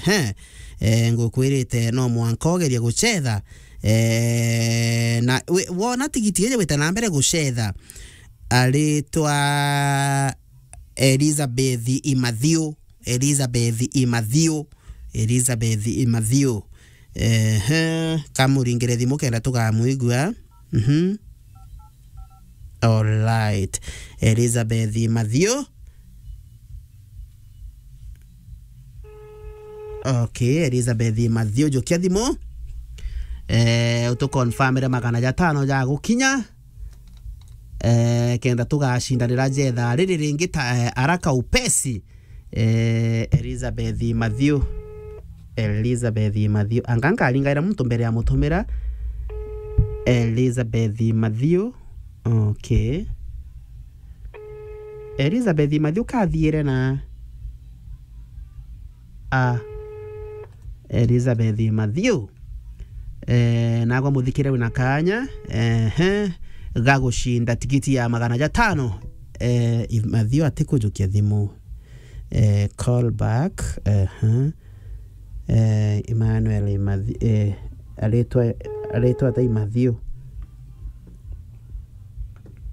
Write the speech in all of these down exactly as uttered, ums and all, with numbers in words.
Ehe. Eh, ngukwirite no mwanka ugerie gucetha. Eh, na wi-, wona tigiti iji wite na mbere gucetha, aritwa Elizabeth Imathiu. Elizabeth Imathiu. Elizabeth Imathiu. Ehe, kamuringire thimu kenda tukamwigua. Mhm. Alright. Elizabeth Imathiu. Okay, Elizabeth Imathiu, jukia thimu. Eh, utuconfirmire magana jatano ja gukinya. Eh, kenda tugacindanira jetha riri ringi ta, eh, araka upesi. Eh, Elizabeth Imathiu. Elizabeth Imathiu. Anga nkaringaira muntu mbere ya mutumira. Elizabeth Imathiu. Okay. Elizabeth Imathiu kathiire na a Elizabeth Imathiu. Eh, nagwa muthikire wina kanya, ehe, ga gucinda tigiti ya magana jatano. Eh, Imathiu atikujukia thimu. Eh, call back, ehe. Eh, Emmanuel Imathiu, eh, aritwa, aritwa ta Imathiu.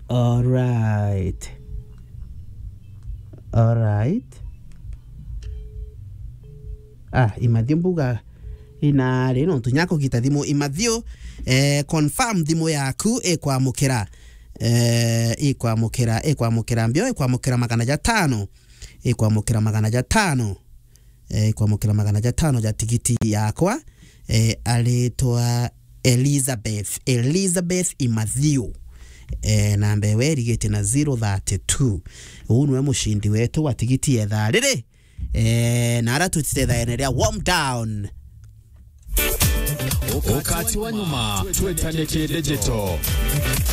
Alright. Alright. Ah, Imathiu mbuga inari nontu nya kugita thimu. Imathiu, eh, confirm thimu yaku ikwamukira. Eh, ikwamukira, ikwamukira mbio, ikwamukira magana jatano. Ikwamukira magana jatano. Eh, ikwamukira magana jatano ja tigiti yakwa. Eh, aritwa Elizabeth, Elizabeth Imathiu. Eh, namba ewe irigite na zero thirty-two. Uu niwe mucindi wetu wa tigiti ethaa riri. Eh, na ara twitithethaene ria warm down. Ukati wa nyuma, twetanie ki digital.